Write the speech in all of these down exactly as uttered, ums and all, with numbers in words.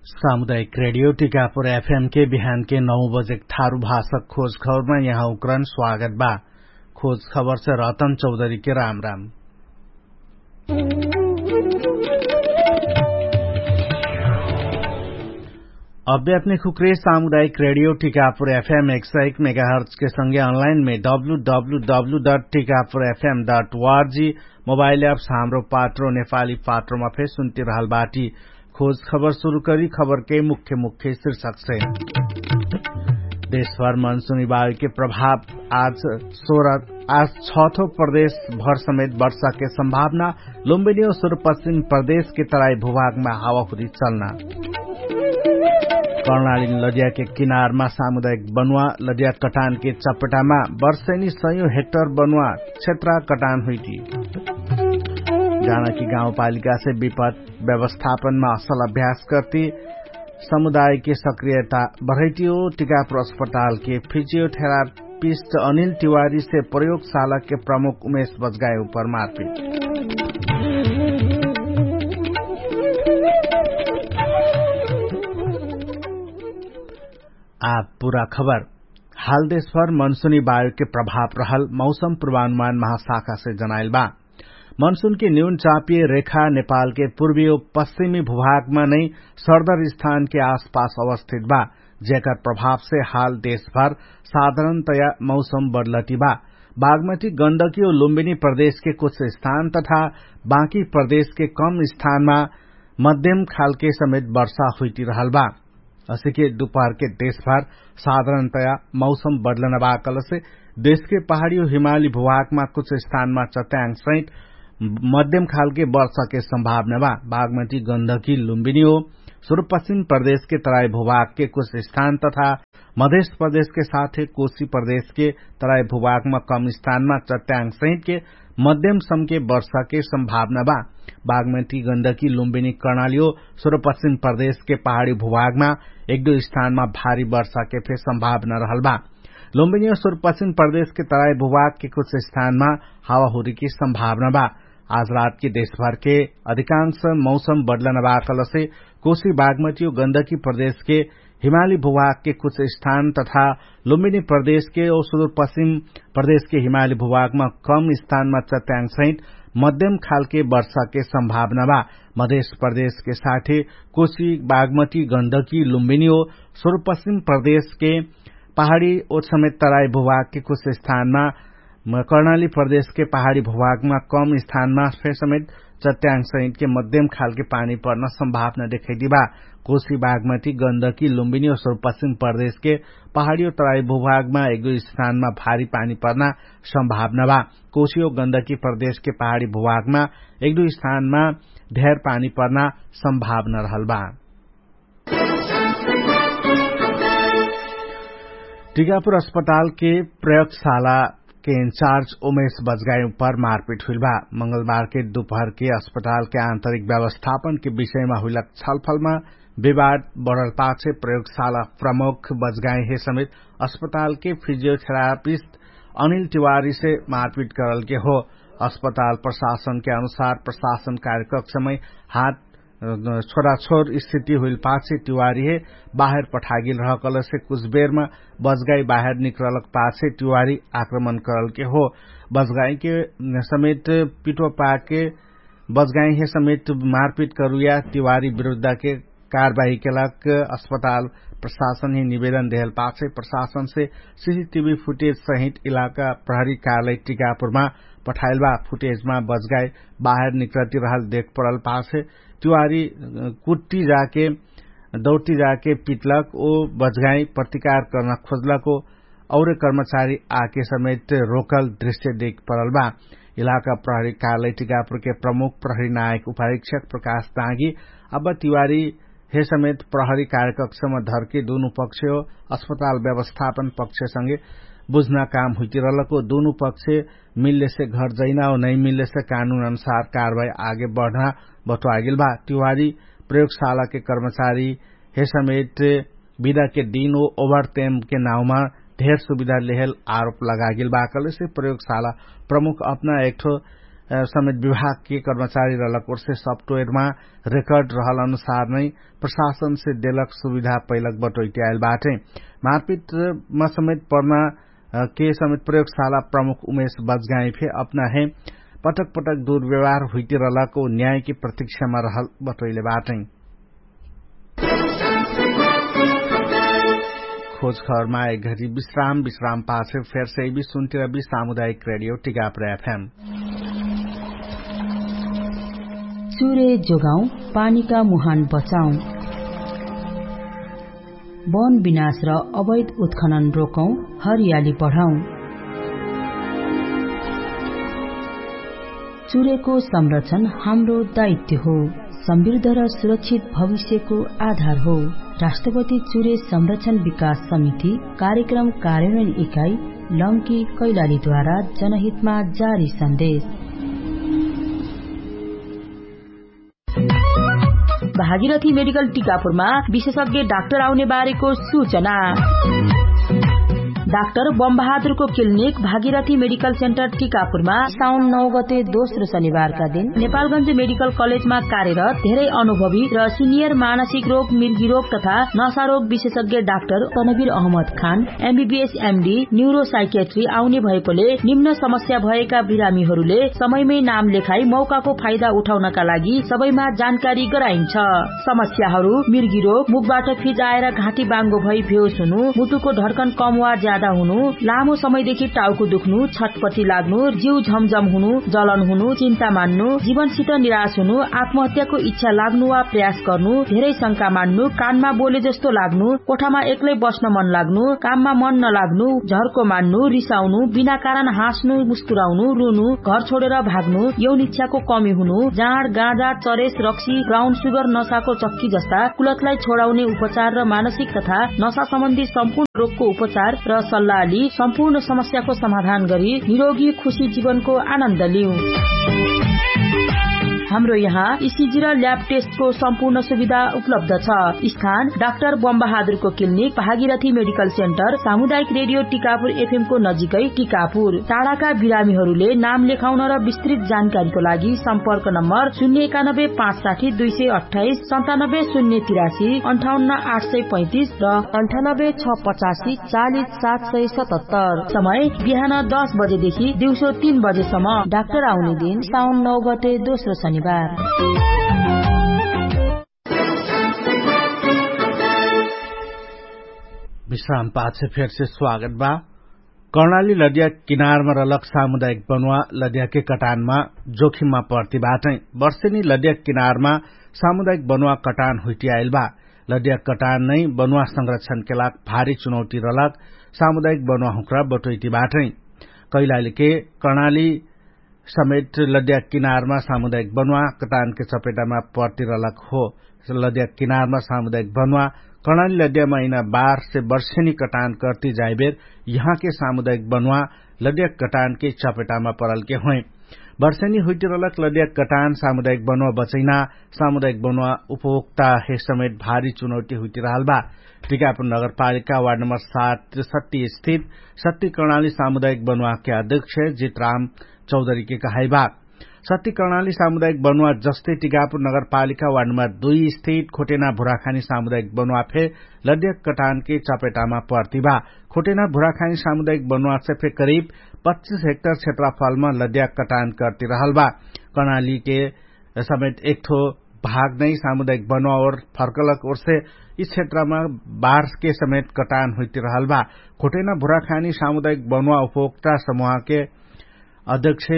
सामुदायिक रेडियो टिकापुर एफएम के बिहान के नौ बजेक थारु भाषक खोज खबरमा यहाँ उक्रन स्वागत बा। खोज खबर से रतन चौधरी के राम राम। अभ्यात्मिक हुक्रे सामुदायिक रेडियो टिकापुर एफएम एक सय एक मेगाहर्च के संगे अनलाइन मे W W W dot Tikapur FM dot org mobile apps Hamro Patro नेपाली पात्रोमा फेर सुन्ति रहल बाटी। खोज खबर सुरु करी खबर के मुख्य मुख्य शीर्षक से। देशभर मनसुनी बायु के प्रभाव आज सोह्र आज छथो प्रदेश भर समेत वर्षा के संभावना। लुम्बिनी और सुरपश्चिम प्रदेश के तराई भूभाग मा हावाहुरी चलना। कर्णाली लडिया के किनारमा सामुदायिक बनुवा लडिया कटान के चपटामा वर्षैनी सयौं हेक्टर बनुवा क्षेत्र कटान हुइटी। जानकी गाउँपालिका से विपद व्यवस्थापनमा असल अभ्यास कर्ति समुदायके सक्रियता बढैतियो। टिकापुर अस्पतालके फिजियोथेरापिस्ट अनिल तिवारीसे प्रयोगशालाके प्रमुख उमेश बजगाए उपर मारपिट। आ पुरा खबर। हाल देशभर मनसुनी बायुके प्रभाव रहल मौसम पुर्वानुमान महाशाखासे जनाइल बा। मनसुनके न्यून चापिय रेखा नेपालके पुर्वीयो पश्चिमी भूभागमा नै सरदर स्थानके आसपास अवस्थित बा, जेकर प्रभावसे हाल देशभर साधारणतया मौसम बदलति बा। बागमती गण्डकी और लुम्बिनी प्रदेशके कुछ स्थान तथा बाँकी प्रदेशके कम स्थानमा मध्यम खालके समेत वर्षा हुइति रहल बा। असिके दुपहरके देशभर साधारणतया मौसम बदलना बा कलसे देशके पहाडी और हिमाली भूभागमा कुछ स्थानमा चट्याङ सहित मध्यम खालके वर्षाके संभावना बा। बागमती गण्डकी लुम्बिनी हो सुरुपश्चिम प्रदेशके तराई भूभागके कुछ स्थान तथा मधेश प्रदेशके साथे कोशी प्रदेशके तराई भूभागमा कम स्थानमा चट्याङ सहितके मध्यम समके वर्षाके संभावना बा। बागमती गण्डकी लुम्बिनी कर्णाली हो सुरुपश्चिम प्रदेशके पहाडी भूभागमा एक दुई स्थानमा भारी वर्षाके फे संभावना रहल बा। लुम्बिनी हो सुरुपश्चिम प्रदेशके तराई भूभागके कुछ स्थानमा हावाहुरीके संभावना बा। आज रातके देशभरके अधिकांश मौसम बदलना बा कलसे कोशी बागमती और गण्डकी प्रदेशके हिमाली भूभागके कुछ स्थान तथा लुम्बिनी प्रदेशके और सुरुपश्चिम प्रदेशके हिमाली भूभागमा कम स्थानमा चट्याङ सहित मध्यम खालके वर्षाके संभावना बा। मधेश प्रदेशके साथे कोशी बागमती गण्डकी लुम्बिनी हो सुरुपश्चिम प्रदेशके पहाडी और समेत तराई भूभागके कुछ स्थानमा कर्णाली प्रदेशके पहाडी भूभागमा कम स्थानमा फे समेत चट्याङ सहितके मध्यम खालके पानी पर्न संभावना देखैदी बा। कोशी बागमती गण्डकी लुम्बिनी और सुरुपश्चिम प्रदेशके पहाडी और तराई भूभागमा एक दुई स्थानमा भारी पानी पर्न संभावना बा। कोशी और गण्डकी प्रदेशके पहाडी भूभागमा एक दुई स्थानमा धेर पानी पर्न संभावना रहल बा। टिकापुर अस्पतालके प्रयोगशालाके इन्चार्ज उमेश बजगाई उपर मारपिट हुइल बा। मंगलबारके दुपहरके अस्पतालके आन्तरिक व्यवस्थापनके विषयमा हुइलक छलफलमा विवाद बढल पाछे प्रयोगशाला प्रमुख बजगाई हे समेत अस्पतालके फिजियोथेरापिस्ट अनिल तिवारीसे मारपिट करलके हो। अस्पताल प्रशासनके अनुसार प्रशासन कार्यक्रम समय हात छोराछोर स्थिति हुइल पाछे तिवारीहे बाहेर पठागेल रहकलसे कुछ बेरमा बजगाई बाहेर निकरलक पाछे तिवारी आक्रमण करलके हो। बजगाईके समेत पिटो पाके बजगाईहे समेत मारपिट करुया तिवारी विरुद्धके कारबाही केलक अस्पताल प्रशासनही निवेदन देहल पाछे प्रशासनसे सिसिटिभी फुटेज सहित इलाका प्रहरी कार्यालय टिकापुरमा पठाइल बा। फुटेजमा बजगाई बाहेर निकरति रहल देख पडल पाछे तिवारी कुट्टी जाके दौटी जाके पिटलक ओ बजगाई प्रतिकार कर्न खोजलक ओ औरे कर्मचारी आके समेत रोकल दृश्य देख पडल बा। इलाका प्रहरी कार्यालय टिकापुरके प्रमुख प्रहरी नायक उपारीक्षक प्रकाश दागी अब तिवारी हे समेत प्रहरी कार्यकक्षमा धरके दुनु पक्ष हो अस्पताल व्यवस्थापन पक्षसँगे बुझ्ना काम हुइतिरहलक ओ दुनु पक्ष मिल्लेसे घर जैना हो नैमिल्लेसे कानुन अनुसार कारवाही आगे बढ्ना बतुवागेल बा। तिवारी प्रयोगशालाके कर्मचारी हे समेत बिदाके दिन ओ ओभर तेमके नाउँमा धेर सुविधा लेहेल आरोप लगागेल बा कलेसे प्रयोगशाला प्रमुख अपना एकठो समेत विभागके कर्मचारी रहलक ओर्से सफ्टवेयरमा रेकर्ड रहल अनुसार नै प्रशासनसे देलक सुविधा पैलक बटोइटी आइल बाटै। मारपिटमा समेत पर्ना के समेत प्रयोगशाला प्रमुख उमेश बजगाई फे अपना हे पटक पटक दुर्व्यवहार हुइटी रहलक ओ न्यायके प्रतीक्षामा रहल बटोइले बाटै। खोज खबरमा एक घडी विश्राम विश्राम पाछे फेरसे इबी सुन्टिरबी सामुदायिक रेडियो टिकापुर एफएम। चुरे जोगाउँ, पानीका मुहान बचाउँ। वन विनाश र अवैध उत्खनन रोकौँ, हरियाली बढाउँ। चुरेको संरक्षण हाम्रो दायित्व हो। समृद्ध र सुरक्षित भविष्यको आधार हो। राष्ट्रपति चुरे संरक्षण विकास समिति कार्यक्रम कार्यान्वयन इकाइ लम्की कैलालीद्वारा जनहितमा जारी सन्देश। भागीरथी मेडिकल टिकापुरमा विशेषज्ञ डाक्टर आउने बारेको सूचना। डाक्टर बमबहादुरको क्लिनिक भागीरथी मेडिकल सेन्टर टिकापुरमा साउन नौ गते दोस्रो शनिबारका दिन नेपालगञ्ज मेडिकल कलेजमा कार्यरत धेरै अनुभवी र सिनियर मानसिक रोग मिर्गी रोग तथा नशा रोग विशेषज्ञ डाक्टर तनवीर अहमद खान एमबीबीएस एमडी न्युरोसाइकेट्री आउने भएकोले निम्न समस्या भएका बिरामीहरूले समयमै नाम लेखाई मौकाको फाइदा उठाउनका लागि सबैमा जानकारी गराइन्छ। समस्याहरू मिर्गी रोग मुखबाट फिजाएर घाँटी बाङ्गो भई भेउस हुनु मुटुको ढर्कन कम वा ज्यादा हुनु लामो समयदेखि टाउको दुख्नु छटपटी लाग्नु जिउ झमझम हुनु जलन हुनु चिन्ता मान्नु जीवनसित निराश हुनु आत्महत्याको इच्छा लाग्नु वा प्रयास गर्नु धेरै शंका मान्नु कानमा बोले जस्तो लाग्नु कोठामा एक्लै बस्न मन लाग्नु काममा मन नलाग्नु झर्को मान्नु रिसाउनु बिना कारण हाँस्नु मुस्कुराउनु रुनु घर छोडेर भाग्नु यौन इच्छाको कमी हुनु जाँड गाँजा चरेस रक्सी ब्राउन सुगर नसाको चक्की जस्ता कुलतलाई छोडाउने उपचार र मानसिक तथा नसा सम्बन्धी सम्पूर्ण रोगको उपचार र सल्लाहली सम्पूर्ण समस्याको समाधान गरी निरोगी खुशी जीवनको आनन्द लिउ। हाम्रो यहाँ इसिजी र ल्याब टेस्टको सम्पूर्ण सुविधा उपलब्ध छ। स्थान डाक्टर बमबहादुरको क्लिनिक भागीरथी मेडिकल सेन्टर सामुदायिक रेडियो टिकापुर एफएमको नजिकै टिकापुर। टाढाका बिरामीहरूले नाम लेखाउन र विस्तृत जानकारीको लागि सम्पर्क नम्बर शून्य एकानब्बे पाँच साठी दुई सय अट्ठाइस सन्तानब्बे शून्य तिरासी अन्ठाउन्न आठ सय पैँतिस र अन्ठानब्बे छ पचासी चालिस सात सय सतहत्तर। समय बिहान दस बजेदेखि दिउँसो तीन बजेसम्म। डाक्टर आउने दिन साउन नौ गते दोस्रो शनिबार। विश्राम पाछे फेरसे स्वागत बा। कर्णाली लद्या किनारमा रलक सामुदायिक बनुवा लद्याके कटानमा जोखिममा पर्ति बाटै। वर्षेनी लद्या किनारमा सामुदायिक बनुवा कटान हुइटियाइल बा। लद्या कटान नै बनुवा संरक्षणके लाग भारी चुनौती रलक सामुदायिक बनुवा हुँक्रा बटोइटी बाटै। कैलालीके कर्णाली समेट लद्या किनारमा सामुदायिक बनुवा कटानके चपेटामा पर्ति रलक हो। लद्या किनारमा सामुदायिक बनुवा कर्णाली लद्या महिना बारसे वर्षेनी कटान कर्ति जाइबेर यहाँके सामुदायिक बनुवा लद्या कटानके चपेटामा परलके होइ। वर्षेनी हुइटिरलक लद्या कटान सामुदायिक बनुवा बचैना सामुदायिक बनुवा उपभोक्ता हे समेट भारी चुनौती हुइटिरहल बा। टिकापुर नगरपालिका वार्ड नम्बर सात सत्ती स्थित सत्ती कर्णाली सामुदायिक बनुवाके अध्यक्ष जितराम चौधरीके कहाइबा। सत्ती कर्णाली सामुदायिक बनुवा जस्तै टिकापुर नगरपालिका वार्ड नम्बर दुई स्थित खोटेना भुराखानी सामुदायिक बनुवा फे लद्या कटानके चपेटामा पर्तिबा। खोटेना भुराखानी सामुदायिक बनुवासे फे करिब पच्चिस हेक्टर क्षेत्रफलमा लद्या कटान कर्तिरहल बा। कर्णालीके समेत एकठो भाग नै सामुदायिक बनुवा ओर फर्कलक ओर्से यि क्षेत्रमा बारके समेत कटान हुइतिरहल बा। खोटेना भुराखानी सामुदायिक बनुवा उपभोक्ता समुहके अध्यक्ष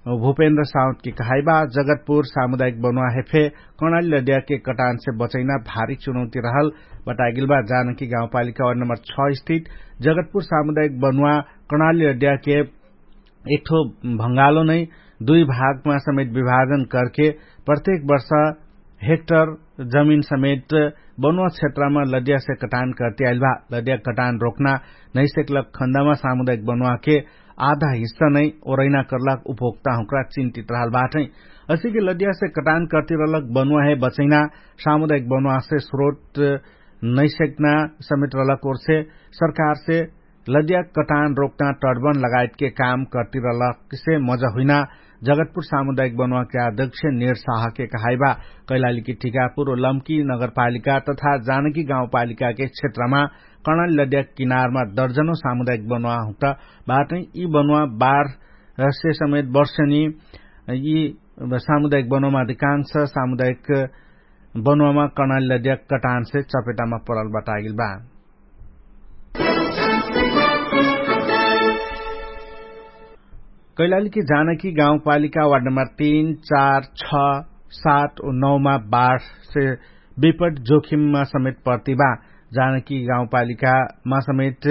भुपेन्द्र साउतके कहाइबा जगतपुर सामुदायिक बनुवा हेफे कर्णाली लद्याके कटानसे बचैना भारी चुनौती रहल बतागिलबा। जानकी गाउँपालिका वार्ड नम्बर छ स्थित जगतपुर सामुदायिक बनुवा कर्णाली लद्याके एकठो भङ्गालो नै दुई भागमा समेत विभाजन करके प्रत्येक वर्ष हेक्टर जमिन समेत बनुवा क्षेत्रमा लद्यासे कटान कर्ति आइलबा। लद्या कटान रोक्ना नैसेकलक खन्दामा सामुदायिक बनुवाके आधा हिस्सा नै ओरैना कर्लाक उपभोक्ता हुँक्रा चिन्तित रहल बाटै। असिके लद्यासे कटान कर्ति रहलक बनुवाहे बचैना सामुदायिक बनुवासे स्रोत नैसेक्ना समेत रहलक ओर्से सरकारसे लद्या कटान रोक्ना टर्बन लगायतके काम कर्ति रहलकसे मजा हुइना जगतपुर सामुदायिक बनुवाके अध्यक्ष निर्साहके कहाइबा। कैलालीकी ठिकापुर लम्की नगरपालिका तथा जानकी गाउँपालिकाके क्षेत्रमा कर्णाली लद्याक किनारमा दर्जनो सामुदायिक बनुवा हुँटा बाटै। यी बनुवा बारसे समेत वर्षनी यी सामुदायिक बनुवामा अधिकांश सामुदायिक बनुवामा कर्णाली लद्याक कटानसे चपेटामा परल बतागिल बा। कैलालीकी जानकी गाउँपालिका वार्ड नम्बर तीन, चार, छ, सात उ नौमा बाढसे विपट जोखिममा समेत पर्तिबा। जानकी गाउँपालिकामा समेत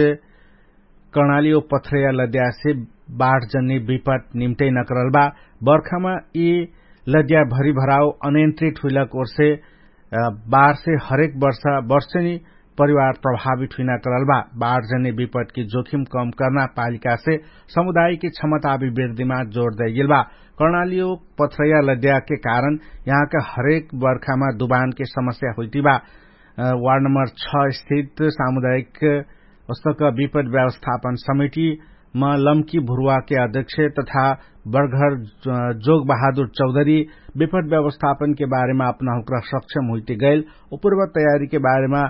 कर्णाली ओ पथ्रया लद्यासे बाढ जन्ने विपट निम्टै नकरल बा। बर्खामा यि लद्या भरिभराउ अनियन्त्रित हुइलक ओर्से बाढसे हरेक वर्ष वर्षनी परिवार प्रभावित हुइना करल बा। बाढ जने विपटकी जोखिम कम कर्ना पालिकासे समुदायकी क्षमता अभिवृद्धिमा जोड दैगेल बा। कर्णालियो पथ्रैया लद्याके कारण यहाँका हरेक बर्खामा दुबानके समस्या हुइतिबा। वार्ड नम्बर छ स्थित सामुदायिक उस्तक विपट व्यवस्थापन समिति म लम्की भुरुवाके अध्यक्ष तथा बर्घर जोग बहादुर चौधरी विपट व्यवस्थापनके बारेमा अपना हुक्रा सक्षम हुइते गैल उपरुवा तयारीके बारेमा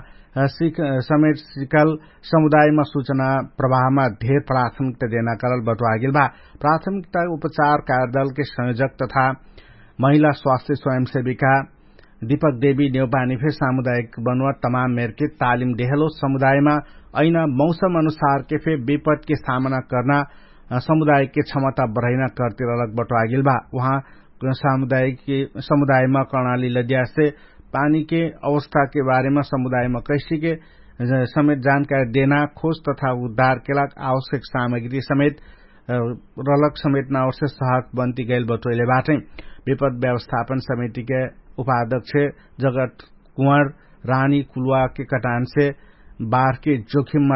समेट सिकल समुदायमा सुचना प्रभावमा धेर प्राथमिकता देना करल बटुवागेल बा। प्राथमिकता उपचार कार्यदलके संयोजक तथा महिला स्वास्थ्य स्वयंसेविका दिपक देवी नेउपानी फेर सामुदायिक बनुवा तमाम मेरके तालिम देहलो समुदायमा अइना मौसम अनुसारके फेर विपटके सामना कर्ना समुदायिकके क्षमता बढैना कर्तिरलक बटुवागेल बा। उहाँ समुदायमा कर्णाली लद्यासे पानीके अवस्थाके बारेमा समुदायमा कैसिके समेत जानकारी देना खोज तथा उद्धारके लाग आवश्यक सामग्री समेत रलक समेटना ओर्से सहक बन्ती गैल बटोइले बाटै। विपत व्यवस्थापन समितिके उपाध्यक्ष जगत कुँवर रानी कुलुवाके कटानसे बारके जोखिममा